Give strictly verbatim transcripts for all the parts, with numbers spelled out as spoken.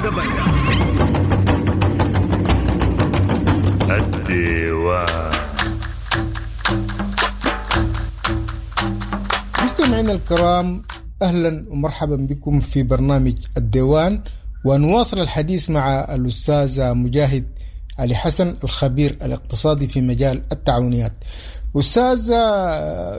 قبل. الديوان. مستمعينا الكرام، أهلا ومرحبا بكم في برنامج الديوان، ونواصل الحديث مع الأستاذ مجاهد علي حسن الخبير الاقتصادي في مجال التعاونيات. أستاذ،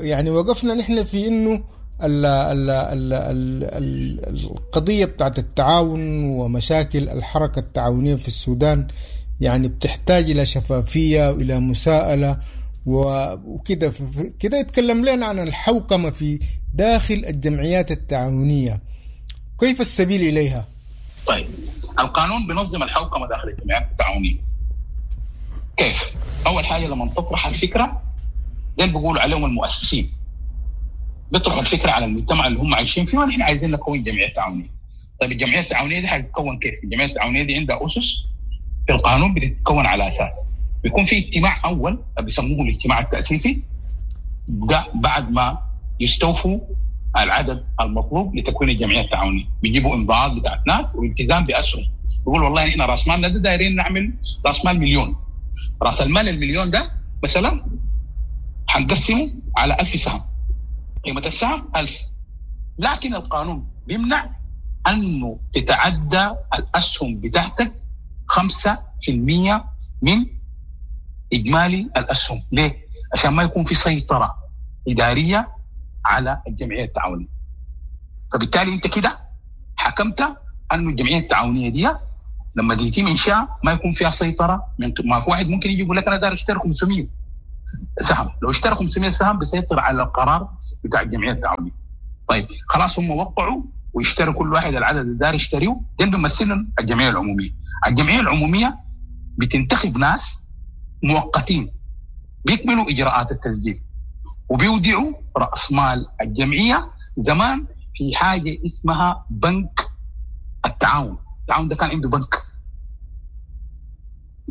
يعني وقفنا نحن في إنه ال ال ال ال ال القضية بتاعت التعاون ومشاكل الحركة التعاونية في السودان يعني بتحتاج إلى شفافية وإلى مساءلة وكده. كده يتكلم لنا عن الحوكمة في داخل الجمعيات التعاونية، كيف السبيل إليها؟ طيب، القانون بينظم الحوكمة داخل الجمعيات التعاونية. كيف؟ أول حاجة لما تطرح الفكرة، ده اللي بيقولوا عليهم المؤسسين، بيطرحوا الفكرة على المجتمع اللي هم عايشين فيه، ونحن عايزين نكون جمعية تعاونية. طيب الجمعية التعاونية دي حتتكون كيف؟ الجمعية التعاونية دي عندها أسس في القانون بتتكون على أساس بيكون في اجتماع أول بيسموه الاجتماع التأسيسي، ده بعد ما يستوفوا العدد المطلوب لتكوين الجمعية التعاونية، بيجيبوا امضاءات بتاعت ناس والتزام بأسهم، بيقول والله احنا راس مالنا ده دايرين نعمل راس مال مليون، راس المال المليون ده مثلا هنقسمه على ألف سهم، قيمة السهم ألف، لكن القانون بيمنع أنه تتعدى الأسهم بتاعتك خمسة في المية من إجمالي الأسهم. ليه؟ عشان ما يكون في سيطرة إدارية على الجمعية التعاونية. فبالتالي أنت كده حكمت أنه الجمعية التعاونية دي لما يتم إنشاء ما يكون فيها سيطرة من ما في واحد ممكن يجي يقول لك أنا داير اشتري خمسمية سهم، لو اشترى خمسمية سهم بيسيطر على القرار بتاع الجمعية التعاونية. طيب خلاص هم وقعوا ويشتروا كل واحد العدد اللي داير يشتريه، ده بيمثلهم الجمعية العمومية. الجمعية العمومية بتنتخب ناس مؤقتين بيكملوا إجراءات التسجيل وبيودعوا رأس مال الجمعية. زمان في حاجة اسمها بنك التعاون، التعاون ده كان عنده بنك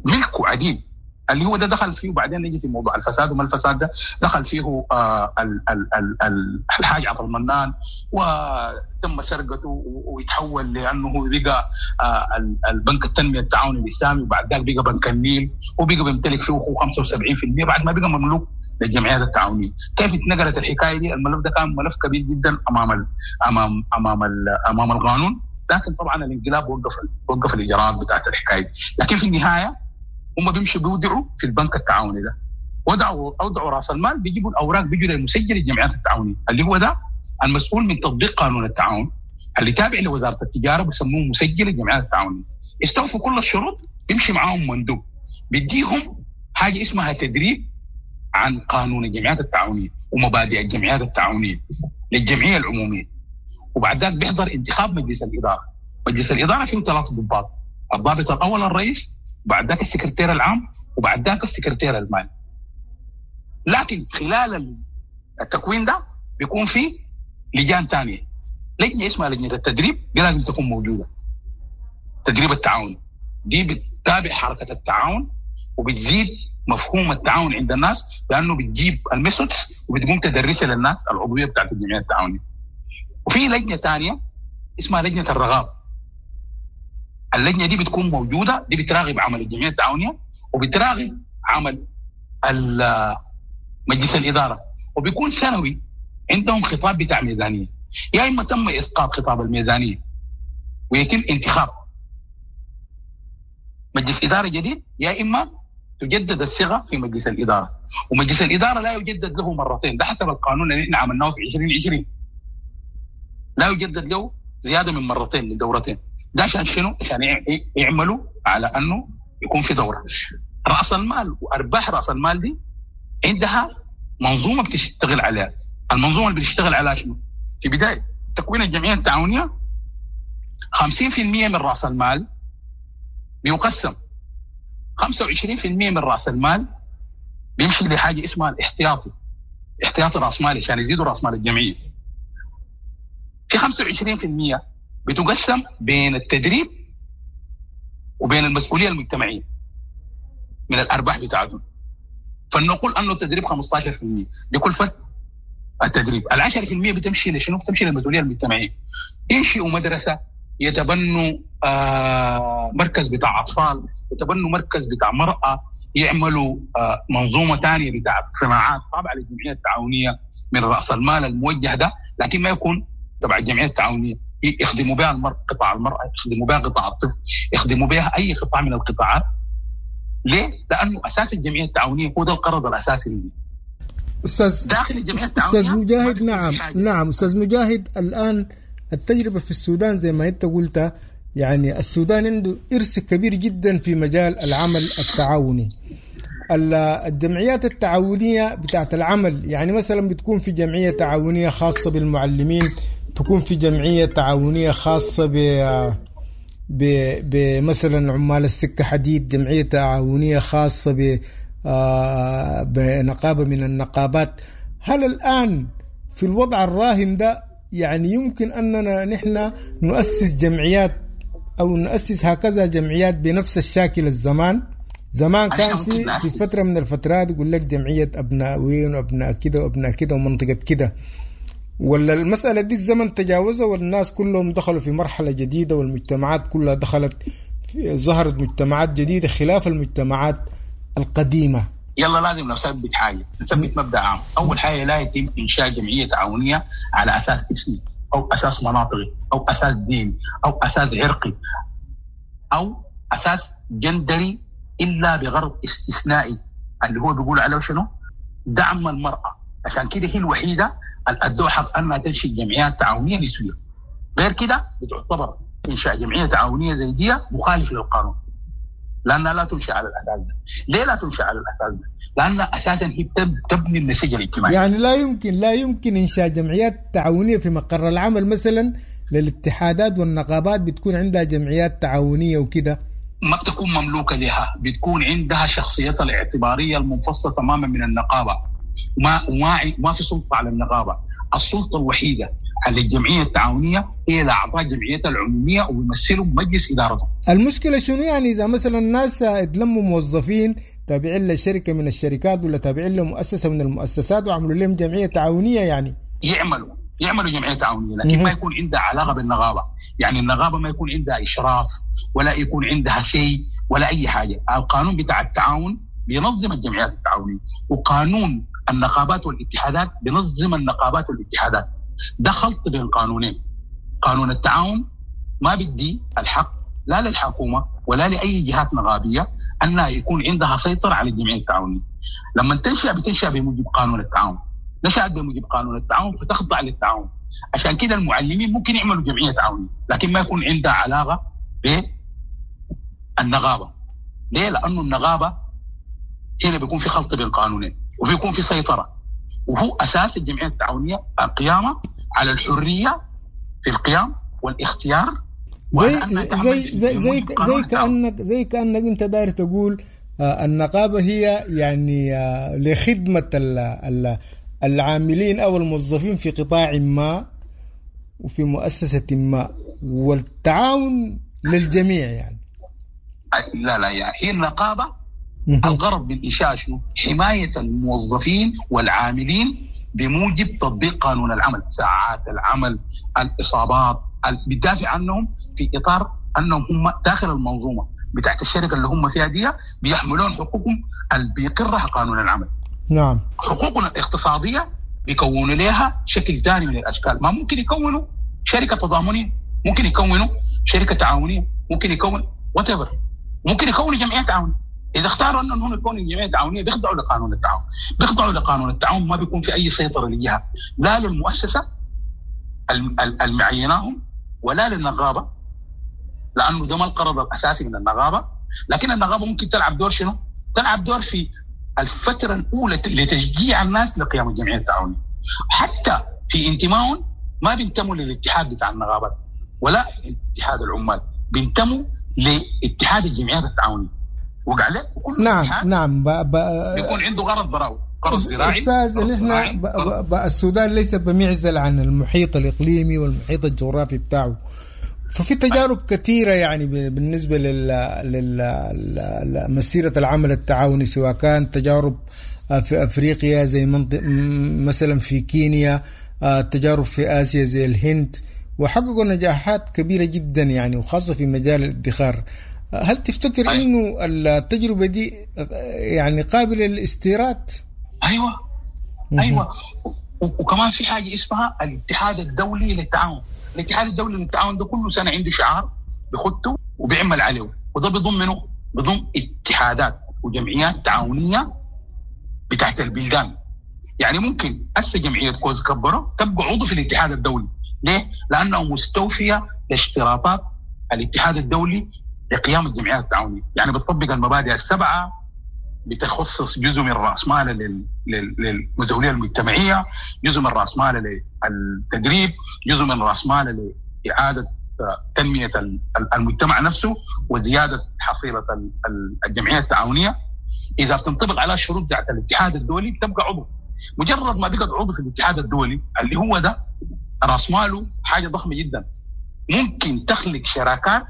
ملكه عديد اللي هو ده دخل فيه، وبعدين نجي في موضوع الفساد وما الفساد ده دخل فيه آه ال ال ال الحاج عبد المنان وتم سرقته ويتحول لانه بقى آه البنك التنمية التعاوني الاسلامي، وبعد ذلك بقى بنك النيل وبقى بيمتلك فيه خمسة وسبعين بالمئة بعد ما بقى مملوك للجمعيات التعاونية. كيف اتنقلت الحكاية دي؟ الملف ده كان ملف كبير جدا امام ال امام امام ال امام القانون، لكن طبعا الانقلاب وقف وقف الاجراءات بتاعت الحكاية دي. لكن في النهاية هم بيمشوا بيودعوا في البنك التعاوني ده، ودعوا اودعوا راس المال، بيجيبوا الاوراق بيجوا للمسجل الجمعيات التعاونية اللي هو ده المسؤول من تطبيق قانون التعاون اللي تابع لوزارة التجارة، بيسموه مسجل الجمعيات التعاونية. استوفوا كل الشروط، بيمشي معاهم مندوب بيديهم حاجة اسمها تدريب عن قانون الجمعيات التعاونية ومبادئ الجمعيات التعاونية للجمعية العمومية. وبعد ذلك بيحضر انتخاب مجلس الادارة. مجلس الادارة فيه ثلاث ضباط، الضابط الاول الرئيس، وبعد ذاك السكرتير العام، وبعد ذاك السكرتير المالي. لكن خلال التكوين ده بيكون في لجان ثانية، لجنة اسمها لجنة التدريب، دي لازم تكون موجودة، تدريب التعاون دي بتتابع حركة التعاون وبتزيد مفهوم التعاون عند الناس، لانه بتجيب ال methods وبتقوم تدرسها للناس العضوية بتاعت الجمعية التعاونية. وفي لجنة ثانية اسمها لجنة الرغاب، اللجنة دي بتكون موجودة، دي بتراقب عمل الجمعية التعاونية وبتراقب عمل مجلس الادارة، وبيكون سنوي عندهم خطاب بتاع ميزانية، يا اما تم اسقاط خطاب الميزانية ويتم انتخاب مجلس ادارة جديد، يا اما تجدد الصيغة في مجلس الادارة. ومجلس الادارة لا يجدد له مرتين، ده حسب القانون اللي احنا عملناه في عشرين عشرين، لا يجدد له زيادة من مرتين من دورتين. ده عشان شنو؟ عشان يعملوا على انه يكون في دوره. راس المال وارباح راس المال دي عندها منظومة بتشتغل عليها. المنظومة اللي بتشتغل عليها شنو؟ في بداية تكوين الجمعية التعاونية خمسين بالمئة من راس المال بيقسم، خمسة وعشرين بالمئة من راس المال بيمشي لحاجة اسمها الاحتياطي، احتياطي راس مالي عشان يزيدوا راس مال الجمعية. في خمسة وعشرين بالمئة بتقسم بين التدريب وبين المسؤولية المجتمعية من الارباح بتاعتهم. فلنقول انه التدريب خمسة عشر بالمئة لكلفه التدريب، ال عشرة بالمئة بتمشي لشنو؟ بتمشي للمسؤولية المجتمعية. ينشئوا مدرسه، يتبنوا آه مركز بتاع اطفال، يتبنوا مركز بتاع مراة، يعملوا آه منظومة ثانية بتاع صناعات تابعه للجمعية التعاونية من راس المال الموجه ده، لكن ما يكون تبع الجمعية التعاونية. يخدموا بها المرأة، قطاع المرأة، يخدموا بها قطاع الطفل، يخدموا بها أي قطاع من القطاعات. ليه؟ لأنه أساس الجمعية التعاونية هو ده القرض الأساسي منه. أستاذ داخل الجمعية التعاونية أستاذ مجاهد، نعم نعم أستاذ مجاهد، الآن التجربة في السودان زي ما أنت قلت، يعني السودان عنده إرث كبير جدا في مجال العمل التعاوني. الجمعيات التعاونية بتاعت العمل، يعني مثلا بتكون في جمعية تعاونية خاصة بالمعلمين، تكون في جمعية تعاونية خاصة ب بمثلا عمال السكة حديد، جمعية تعاونية خاصة ب بنقابة من النقابات. هل الآن في الوضع الراهن ده يعني يمكن أننا نحن نؤسس جمعيات أو نؤسس هكذا جمعيات بنفس الشاكل الزمان؟ زمان كان في في فترة من الفترات يقول لك جمعية أبناء وين وأبناء كده وأبناء كده ومنطقة كده، ولا المسألة دي الزمن تجاوزها والناس كلهم دخلوا في مرحلة جديدة والمجتمعات كلها دخلت، ظهرت مجتمعات جديدة خلاف المجتمعات القديمة؟ يلا لازم نثبت حاجة، نثبت مبدأ عام. أول حاجة، لا يتم إنشاء جمعية تعاونية على أساس اسمي أو أساس مناطقي أو أساس ديني أو أساس عرقي أو أساس جندري إلا بغرض استثنائي اللي هو بيقول عليه شنو؟ دعم المرأة. عشان كده هي الوحيدة الأدوة حق أنها تنشئ جمعيات تعاونية نسوية. غير كده بتعتبر إنشاء جمعية تعاونية زي دي مخالف للقانون، لأنها لا تنشأ على الأساس ده. ليه لا تنشأ على الأساس ده؟ لأن أساسا هي تبني النسيج الاجتماعي. يعني لا يمكن لا يمكن إنشاء جمعيات تعاونية في مقر العمل مثلا للاتحادات والنقابات بتكون عندها جمعيات تعاونية وكده، ما بتكون مملوكة لها، بتكون عندها شخصيتها الاعتبارية المنفصلة تماما من النقابة، وما وما ما في سلطة على النقابة. السلطة الوحيدة على الجمعية التعاونية هي اعضاء جمعيتها العمومية وبيمثلوا مجلس ادارتهم. المشكلة شنو يعني اذا مثلا الناس اتلموا موظفين تابعين لشركة من الشركات ولا تابعين لمؤسسة من المؤسسات وعملوا لهم جمعية تعاونية، يعني يعملوا يعملوا جمعية تعاونية، لكن ما يكون عندها علاقة بالنقابه. يعني النقابة ما يكون عندها اشراف ولا يكون عندها شيء ولا اي حاجة. القانون بتاع التعاون بينظم الجمعيات التعاونية، وقانون النقابات والاتحادات بنظم النقابات والاتحادات. ده خلط بين قانونين. قانون التعاون ما بدي الحق لا للحكومة ولا لأي جهات نقابية أنها يكون عندها سيطرة على الجمعية التعاونية. لما تنشأ بتنشأ بموجب قانون التعاون، نشأت بموجب قانون التعاون فتخضع للتعاون. عشان كده المعلمين ممكن يعملوا جمعية تعاونية، لكن ما يكون عندها علاقة بالنقابة. ليه؟ لأنه النقابة هنا بيكون في خلط بين قانونين وبيكون في سيطرة، وهو أساس الجمعية التعاونية القيامة على الحرية في القيام والاختيار. زي زي زي زي, زي كأنك زي كأنك أنت داير تقول النقابة هي يعني لخدمة العاملين أو الموظفين في قطاع ما وفي مؤسسة ما، والتعاون للجميع يعني. لا لا يعني هي النقابة الغرض من إنشاء شنو؟ حماية الموظفين والعاملين بموجب تطبيق قانون العمل، ساعات العمل، الإصابات، بتدافع عنهم في إطار أنهم هم داخل المنظومة بتاعت الشركة اللي هم فيها دي بيحملون حقوقهم اللي بيقرها قانون العمل. نعم. حقوقنا الاقتصادية بيكونوا لها شكل ثاني من الأشكال. ما ممكن يكونوا شركة تضامنية، ممكن يكونوا شركة تعاونية، ممكن يكون whatever، ممكن يكونوا جمعية تعاونية. إذا اختاروا أنهم يكونوا جمعية تعاونية بيخضعوا لقانون التعاون، بيخضعوا لقانون التعاون، ما بيكون في أي سيطرة لجهة، لا للمؤسسة المعيناهم ولا للنقابة، لأنه ده ما القرض الأساسي من النقابة. لكن النقابة ممكن تلعب دور شنو؟ تلعب دور في الفترة الأولى لتشجيع الناس لقيام الجمعية التعاونية. حتى في انتمائهم ما بينتموا للاتحاد بتاع النقابات ولا اتحاد العمال، بينتموا لاتحاد الجمعيات التعاونية. وقع له وكل نعم نعم ب... ب... بيكون عنده غرض براو، غرض زراعي. أستاذ نحن ب... ب... السودان ليس بمعزل عن المحيط الإقليمي والمحيط الجغرافي بتاعه، ففي تجارب كثيرة يعني بالنسبة لل... لل... لمسيرة العمل التعاوني، سواء كان تجارب في أفريقيا زي منطق... مثلا في كينيا، تجارب في آسيا زي الهند وحققوا نجاحات كبيرة جدا يعني، وخاصة في مجال الادخار. هل تفتكر أيوة. انه التجربة دي يعني قابلة للاستيراد؟ ايوه ايوه. وكمان في حاجة اسمها الاتحاد الدولي للتعاون. الاتحاد الدولي للتعاون ده كل سنة عنده شعار بيخطه وبيعمل عليه، وده بيضم منه بيضم اتحادات وجمعيات تعاونية بتاعت البلدان. يعني ممكن هسه جمعية كوز كبرو تبقى عضو في الاتحاد الدولي. ليه؟ لانه مستوفيه لاشتراطات الاتحاد الدولي لقيام الجمعيات التعاونية. يعني بتطبق المبادئ السبعة، بتخصص جزء من راس مالها للمزاوليه المجتمعية، جزء من راس مالها للتدريب، جزء من راس مالها لاعادة تنمية المجتمع نفسه وزيادة حصيله الجمعية التعاونية. اذا بتنطبق على شروط بتاعت الاتحاد الدولي بتبقى عضو. مجرد ما بقت عضو في الاتحاد الدولي اللي هو ده راس ماله حاجة ضخمة جدا، ممكن تخلق شراكات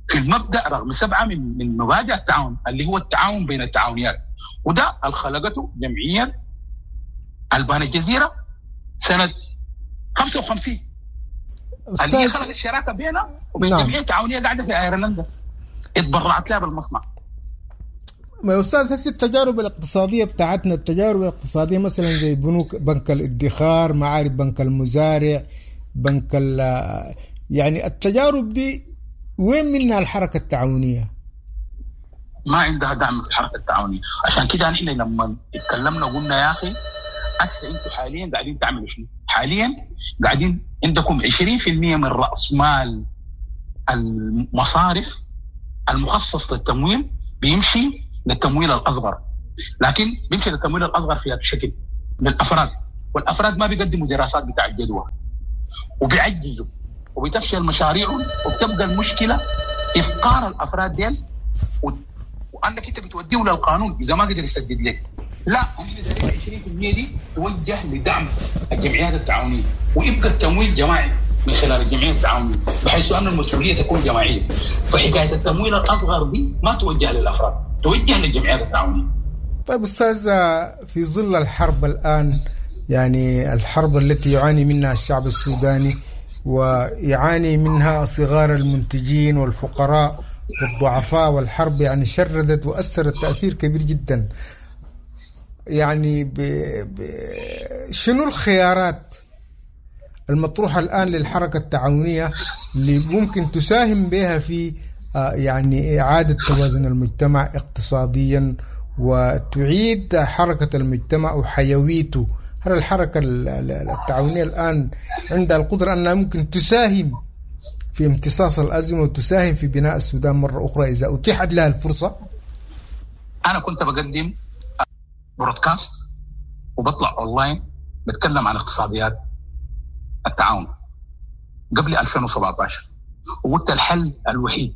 في المبدا رغم سبعة من من مبادئ التعاون اللي هو التعاون بين التعاونيات، وده اللي خلقته جمعية البان الجزيرة سنة خمسة وخمسين، اللي هي خلقت الشراكة بينها وبين نعم. جمعية تعاونية قاعدة في ايرلندا اتبرعت لها بالمصنع. ما يا استاذ هسه التجارب الاقتصادية بتاعتنا، التجارب الاقتصادية مثلا زي بنوك بنك الادخار، معارف بنك المزارع، بنك يعني التجارب دي وين منها الحركة التعاونية؟ ما عندها دعم في الحركة التعاونية. عشان كده نحن لما اتكلمنا قلنا يا اخي هسه انتم حاليا قاعدين تعملوا شنو؟ حاليا قاعدين عندكم عشرين بالمئة من راس مال المصارف المخصص للتمويل بيمشي للتمويل الاصغر، لكن بيمشي للتمويل الاصغر في هذا الشكل للافراد، والافراد ما بيقدموا دراسات بتاع الجدوى وبيعجزوا وبتفشل مشاريعهم، وبتبقى المشكلة افقار الافراد ديل، و... وانك انت بتوديه للقانون اذا ما قدر يسدد لك. لا، احنا دايرين عشرين بالمئة دي توجه لدعم الجمعيات التعاونية، ويبقى التمويل جماعي من خلال الجمعية التعاونية، بحيث ان المسؤولية تكون جماعية. فحكايه التمويل الاصغر دي ما توجه للافراد، توجه للجمعيات التعاونية. طيب استاذ، في ظل الحرب الان، يعني الحرب التي يعاني منها الشعب السوداني ويعاني منها صغار المنتجين والفقراء والضعفاء، والحرب يعني شردت وأثرت تأثير كبير جدا، يعني ب... ب... شنو الخيارات المطروحة الآن للحركة التعاونية اللي ممكن تساهم بها في يعني إعادة توازن المجتمع اقتصاديا وتعيد حركة المجتمع وحيويته؟ هل الحركة التعاونية الآن عندها القدرة أنها ممكن تساهم في امتصاص الأزمة وتساهم في بناء السودان مرة أخرى إذا أتيحت لها الفرصة؟ أنا كنت بقدم broadcast وبطلع أونلاين بتكلم عن اقتصاديات التعاون قبل ألفين وسبعة عشر، وقلت الحل الوحيد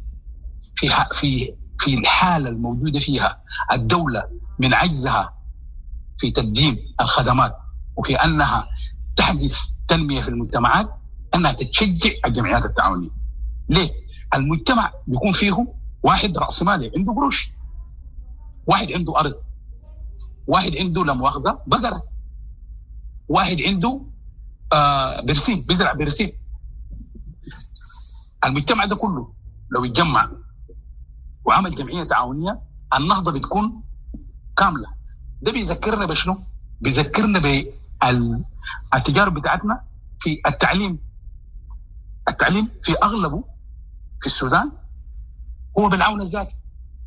في في في الحالة الموجودة فيها الدولة من عجزها في تقديم الخدمات وفي أنها تحدث تنمية في المجتمعات أنها تتشجع الجمعيات التعاونية. ليه؟ المجتمع بيكون فيه واحد رأس مالي عنده قروش، واحد عنده أرض، واحد عنده لا مؤاخذة بقرة، واحد عنده آه برسيم بيزرع برسيم. المجتمع ده كله لو يتجمع وعمل جمعية تعاونية النهضة بتكون كاملة. ده بيذكرنا بشنو؟ بيذكرنا بالتجارب بتاعتنا في التعليم. التعليم في أغلبه في السودان هو بالعون الذاتي،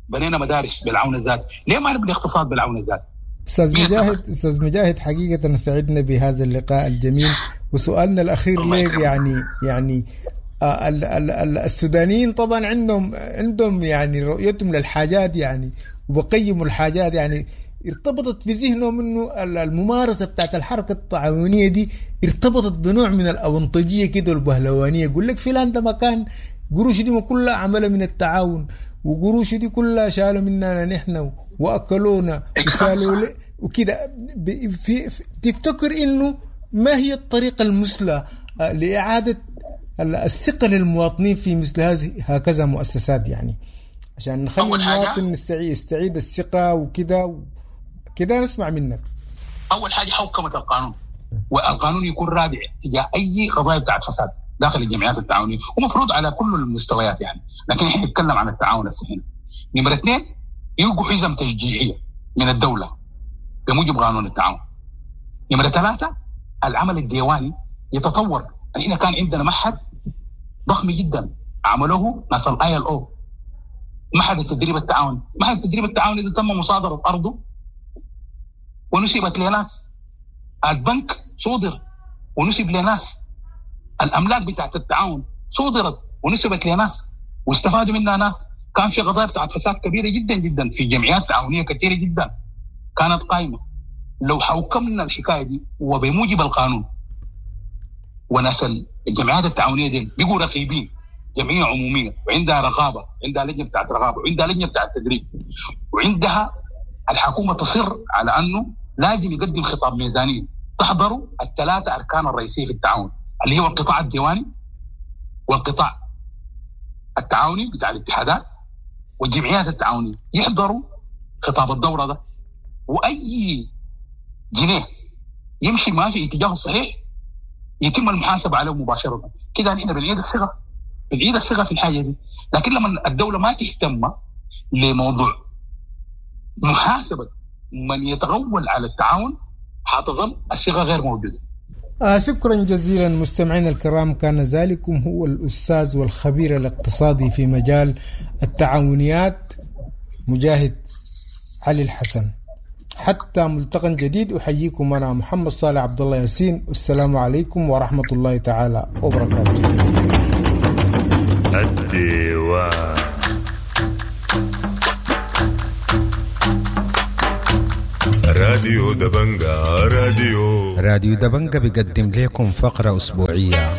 بنينا مدارس بالعون الذاتي، ليه ما نبني اقتصاد بالعون الذاتي؟ أستاذ مجاهد، أستاذ مجاهد حقيقة سعدنا بهذا اللقاء الجميل، وسؤالنا الأخير لك يعني يعني ال ال ال السودانيين طبعا عندهم عندهم يعني رؤيتهم للحاجات يعني وبقيموا الحاجات، يعني ارتبطت في ذهنهم انه الممارسة بتاعت الحركة التعاونية دي ارتبطت بنوع من الاونطجيه كده والبهلوانيه. يقول لك فلان ده مكان قروش دي كلها عملها من التعاون، وقروش دي كلها شالوا مننا نحن واكلونا وشالوا وكده. في تفتكر انه ما هي الطريقة المثلى لاعادة الثقة للمواطنين في مثل هذه هكذا مؤسسات، يعني عشان نخلي المواطن يستعيد يستعيد الثقة وكده كده؟ نسمع منك. اول حاجة حوكمة القانون، والقانون يكون رادع تجاه اي قضايا بتاعت فساد. داخل الجمعيات التعاونية، ومفروض على كل المستويات يعني، لكن احنا نتكلم عن التعاون هنا. نمره اثنين، يلقوا حزم تشجيعيه من الدولة بموجب قانون التعاون. نمره ثلاثة، العمل الديواني يتطور. يعني كان عندنا معهد ضخم جدا عملوه ناس ال ILO، معهد التدريب التعاوني. معهد التدريب التعاوني ده تم مصادره ارضه ونسبت لناس، البنك صودر ونسب لناس، الاملاك بتاعت التعاون صودرت ونسبت لناس واستفادوا منها ناس. كان في قضايا بتاعت فساد كبيرة جدا جدا في جمعيات تعاونية كثيرة جدا كانت قائمة. لو حوكمنا الحكاية دي وبموجب القانون، وناس الجمعيات التعاونية دي بيقوا رقيبين، جمعية عموميه وعندها رقابه، عندها لجنة بتاعت رقابه، وعندها لجنة بتاعت تدريب، وعندها الحكومة تصر على انه لازم يقدم خطاب ميزانية تحضروا الثلاثة اركان الرئيسية في التعاون، اللي هو القطاع الديواني والقطاع التعاوني بتاع الاتحادات والجمعيات التعاونية، يحضروا خطاب الدورة ده، واي جنيه يمشي ما في اتجاهه الصحيح يتم المحاسبة عليه مباشرة. كده نحن بنعيد الثقة، بنعيد الثقة في الحاجة دي. لكن لما الدولة ما تهتم لموضوع محاسبه من يتغول على التعاون حتظل الثقة غير موجودة. آه شكرا جزيلا مستمعينا الكرام، كان ذلكم هو الأستاذ والخبير الاقتصادي في مجال التعاونيات مجاهد علي الحسن. حتى ملتقى جديد، أحييكم أنا محمد صالح عبد الله ياسين، والسلام عليكم ورحمة الله تعالى وبركاته. الديوان راديو دبنجا، راديو راديو دبنجا بيقدم لكم فقرة أسبوعية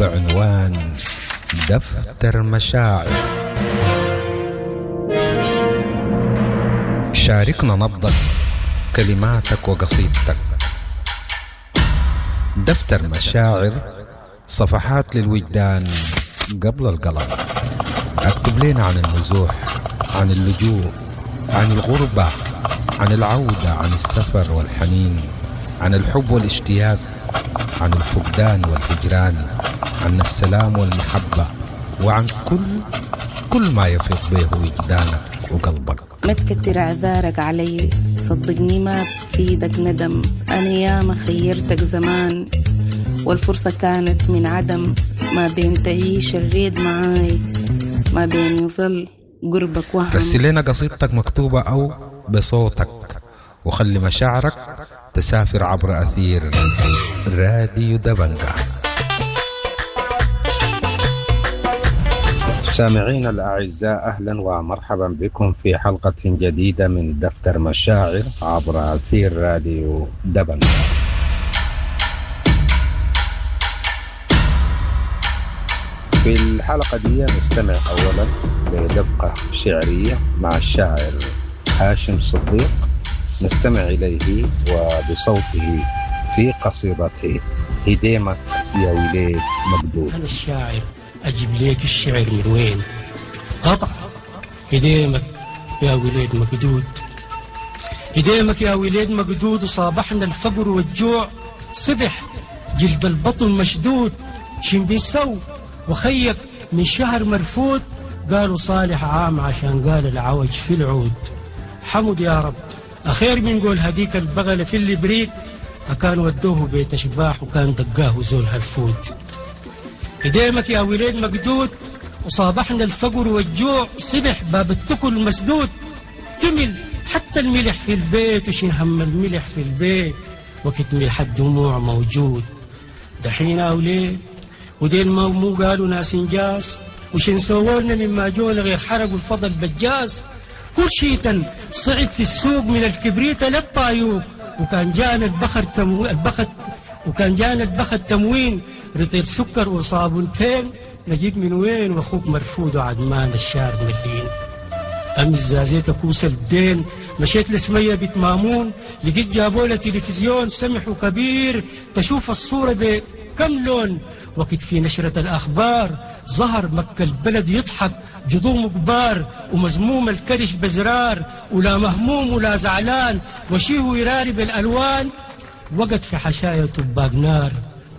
بعنوان دفتر مشاعر. شاركنا نبضك، كلماتك وقصيدتك. دفتر مشاعر، صفحات للوجدان قبل القلم. اكتب لنا عن النزوح، عن اللجوء، عن الغربة، عن العودة، عن السفر والحنين، عن الحب والاشتياق، عن الفقدان والهجران، عن السلام والمحبة، وعن كل كل ما يفيض به وجدانك وقلبك. ما تكتر اعذارك علي، صدقني ما بفيدك ندم، انا ياما خيرتك زمان والفرصة كانت من عدم، ما بين تعيش الريد معاي، ما بين يظل قربك وهم. رسل لنا قصيدتك مكتوبة أو بصوتك، وخلي مشاعرك تسافر عبر أثير راديو دبنجا. سامعين الأعزاء، أهلا ومرحبا بكم في حلقة جديدة من دفتر مشاعر عبر أثير راديو دبنجا. في الحلقة دي نستمع أولا لدفقة شعرية مع الشاعر هاشم صديق، نستمع إليه وبصوته في قصيدته هديمك يا وليد مقدود. أنا الشاعر أجيب ليك الشعر من وين؟ قطع هديمك يا وليد مقدود، هديمك يا وليد مقدود، وصابحنا الفقر والجوع، صبح جلد البطن مشدود، شن بيسو وخيك من شهر مرفوض، قالوا صالح عام عشان قال العوج في العود. حمد يا رب أخير من قول هديك البغلة في اللي بريد، أكان ودوه بيت أشباح وكان دقاه زول هالفود. هديمك يا وليد مقدود، وصابحنا الفقر والجوع، صبح باب التكل مسدود، كمل حتى الملح في البيت، وشين هم الملح في البيت وقت ملح الدموع موجود. دحين أوليد وديل ما مو قالوا ناس انجاز، وشن سوولنا مما جونا غير حرقوا الفضل بجاز، كل شيء صعد في السوق من الكبريت للطايوب، وكان جانا البخر تمو... البخت وكان جانا البخت تموين رطيل سكر وصابونتين، نجيب من وين واخوك مرفوض وعدمان الشار ملين. أمس زازيت كوس الدين، مشيت لسمية بيت مامون، لقيت جابوله تلفزيون سمح وكبير، تشوف الصورة بكم لون. وقت في نشرة الأخبار ظهر مكة البلد يضحك، جضوم كبار ومزموم الكرش بزرار، ولا مهموم ولا زعلان وشيه يراري بالألوان. وقت في حشاية طباق نار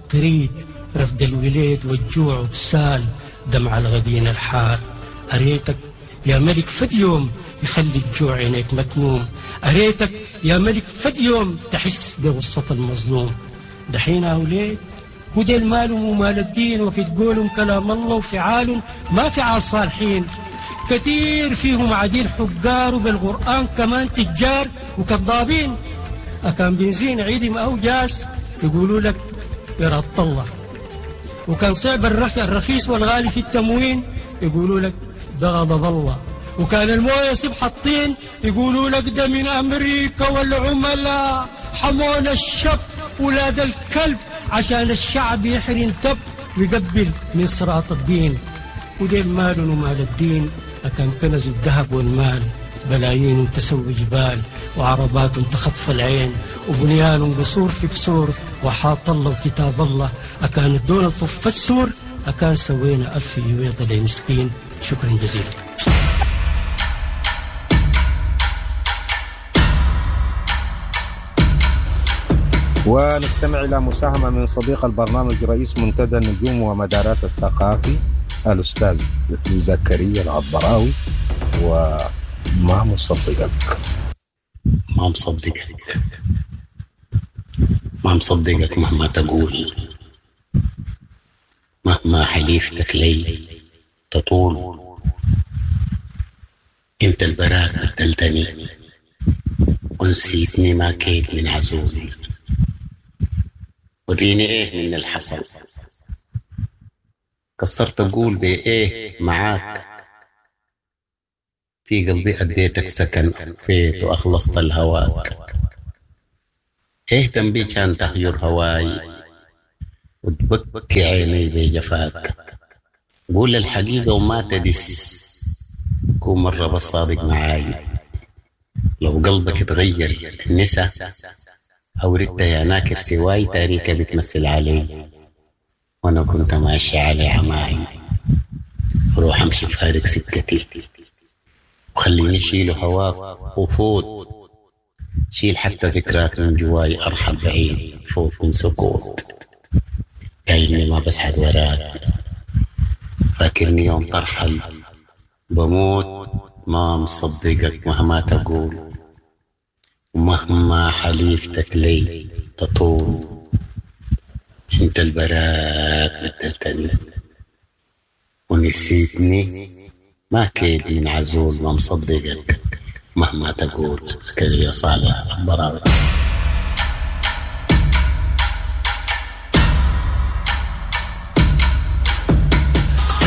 تريد رفد الوليد والجوع وسال دمع الغبين الحار. أريتك يا ملك فد يوم يخلي الجوع عينيك متنوم، أريتك يا ملك فد يوم تحس بغصة المظلوم. دحين يا وليد وديل مالهم ومال الدين، وقت قولهم كلام الله وفعالهم ما فعال صالحين. كثير فيهم عديل حجار وبالقرآن كمان تجار وكذابين. أكان بنزين عيدم أو جاس يقولوا لك إرادة الله، وكان صعب الرخيص والغالي في التموين يقولوا لك ده غضب الله، وكان المويه سبح الطين يقولوا لك ده من أمريكا والعملاء حمونا الشب ولاد الكلب عشان الشعب يحرم تب ويقبل من صراط الدين. ودين مال ومال الدين أكان كنز الذهب والمال، بلايين تسوي جبال وعربات تخطف العين وبنيان قصور في قصور وحاط الله وكتاب الله. أكان الدولة طف السور أكان سوينا ألف يويضة لمسكين. شكرا جزيلا. ونستمع إلى مساهمة من صديق البرنامج رئيس منتدى النجوم ومدارات الثقافي الأستاذ زكريا العبراوي، وما مصدقك. ما مصدقك، ما مصدقك مهما تقول، مهما حليفتك لي تطول. انت البراك بدلتني ونسيتني ما كيت من عزول. وريني ايه من الحصل، كسرت اقول بايه معاك. في قلبي اديتك سكن فيت واخلصت الهواك. ايه ذنبي كان تهجر هواي وتبكي عيني بجفاك. قول الحقيقة وما تدس، كون مرة بس صادق معاي. لو قلبك اتغير نسى أو ردت يا ناكر سواي، تاريكة بتمثل علي وأنا كنت ماشي على عماي. روح أمشي فارق سكتي وخليني شيل هواك وفوت، شيل حتى ذكراك من جواي. أرحل بعيد فوت من سكوت، قايلني ما بسحب وراك. فاكرني يوم ترحل بموت، ما مصدقك مهما تقول، ومهما حليفتك لي تطول. انت البراك بدلتني ونسيتني ما كيد من عزول. ما مصدقك مهما تقول. زكريا صالح براوي.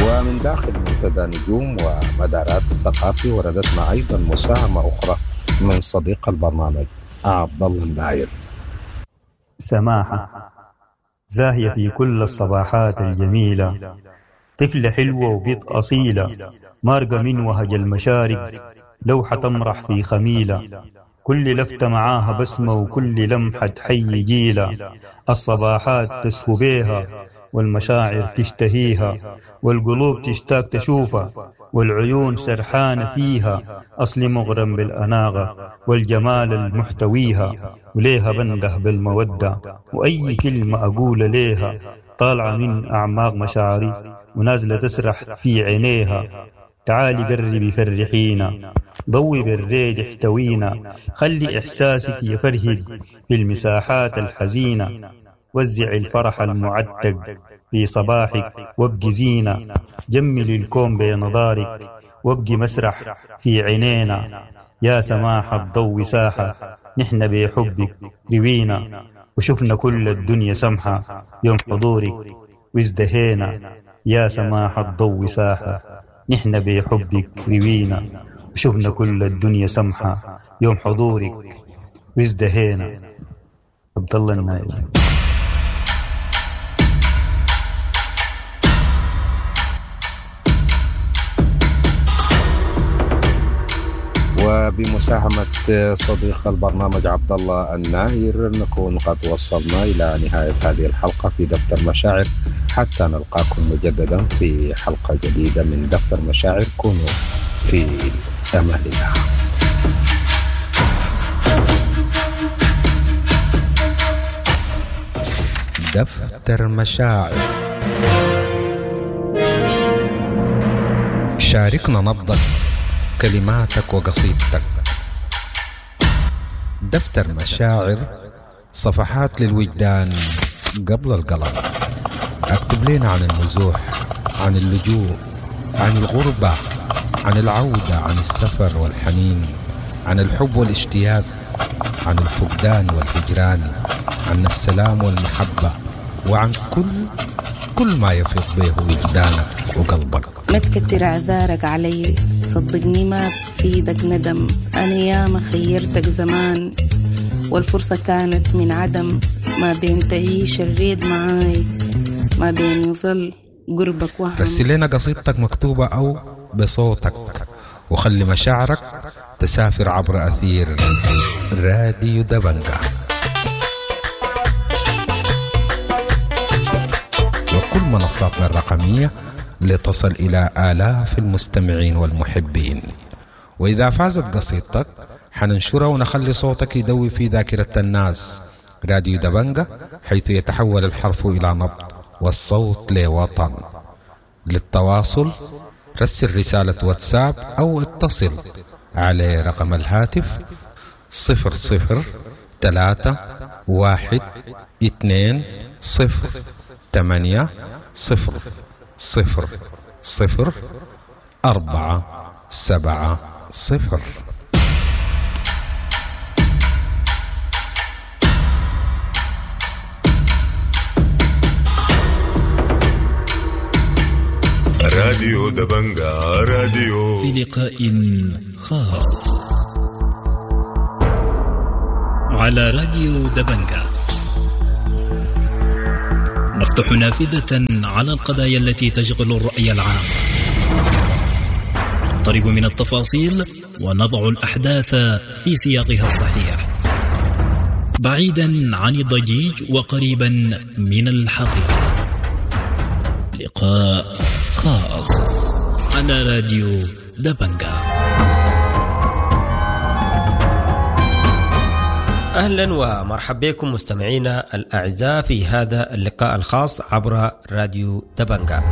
ومن داخل منتدى نجوم ومدارات الثقافي وردتنا أيضا مساهمة أخرى من صديق البرنامج عبد الله الناير. سماحة زاهية في كل الصباحات الجميلة، طفلة حلوة وبيض أصيلة، مارقة من وهج المشارق، لوحة تمرح في خميلة، كل لفتة معاها بسمة وكل لمحة حي جيلة. الصباحات تسفو بيها والمشاعر تشتهيها، والقلوب تشتاق تشوفها والعيون سرحانة فيها. أصلي مغرم بالأناغة والجمال المحتويها، وليها بنده بالمودة وأي كلمة أقول ليها طالعة من أعماق مشاعري ونازلة تسرح في عينيها. تعالي قربي فرحينا، ضوي بالريد احتوينا، خلي إحساسك يفرهد في المساحات الحزينة. وزع الفرح المعتق في صباحك وابقي زينة، جملي الكون بنظارك وابقي مسرح في عينينا. يا سماحة الضوء ساحة نحن بحبك روينا، وشفنا كل الدنيا سمحة يوم حضورك وازدهينا. يا سماحة الضوء ساحة نحن بحبك روينا، وشفنا كل الدنيا سمحة يوم حضورك وازدهينا. عبد الله الناير. وبمساهمة صديق البرنامج عبد الله الناير نكون قد وصلنا إلى نهاية هذه الحلقة في دفتر مشاعر. حتى نلقاكم مجددا في حلقة جديدة من دفتر مشاعر. كونوا في أمان الله. دفتر مشاعر. شاركنا نبضك، كلماتك وقصيدتك. دفتر مشاعر، صفحات للوجدان قبل القلم. اكتب لنا عن النزوح، عن اللجوء، عن الغربة، عن العودة، عن السفر والحنين، عن الحب والاشتياق، عن الفقدان والهجران، عن السلام والمحبة، وعن كل كل ما يفيض به وجدانك وقلبك. ما تكتر اعذارك علي، صدقني ما بفيدك ندم. انا ياما خيرتك زمان والفرصة كانت من عدم. ما بين تعيش الريد معاي، ما بين يظل قربك وهم. رسل لنا قصيدتك مكتوبة أو بصوتك، وخلي مشاعرك تسافر عبر أثير راديو دبنجا وكل منصاتنا الرقمية لتصل إلى آلاف المستمعين والمحبين. وإذا فازت قصيدتك حننشرها ونخلي صوتك يدوي في ذاكرة الناس. راديو دبنجا، حيث يتحول الحرف إلى نبض والصوت لوطن. للتواصل رسل رسالة واتساب أو اتصل على رقم الهاتف صفر صفر ثلاثة واحد اثنين صفر ثمانية صفر صفر صفر أربعة سبعة صفر. راديو دبنجا، راديو في لقاء خاص على راديو دبنجا نفتح نافذة على القضايا التي تشغل الرأي العام، نقترب من التفاصيل ونضع الأحداث في سياقها الصحيح، بعيدا عن الضجيج وقريبا من الحقيقة. لقاء خاص على راديو دبنجا. أهلا ومرحبا بكم مستمعينا الأعزاء في هذا اللقاء الخاص عبر راديو دبنجا.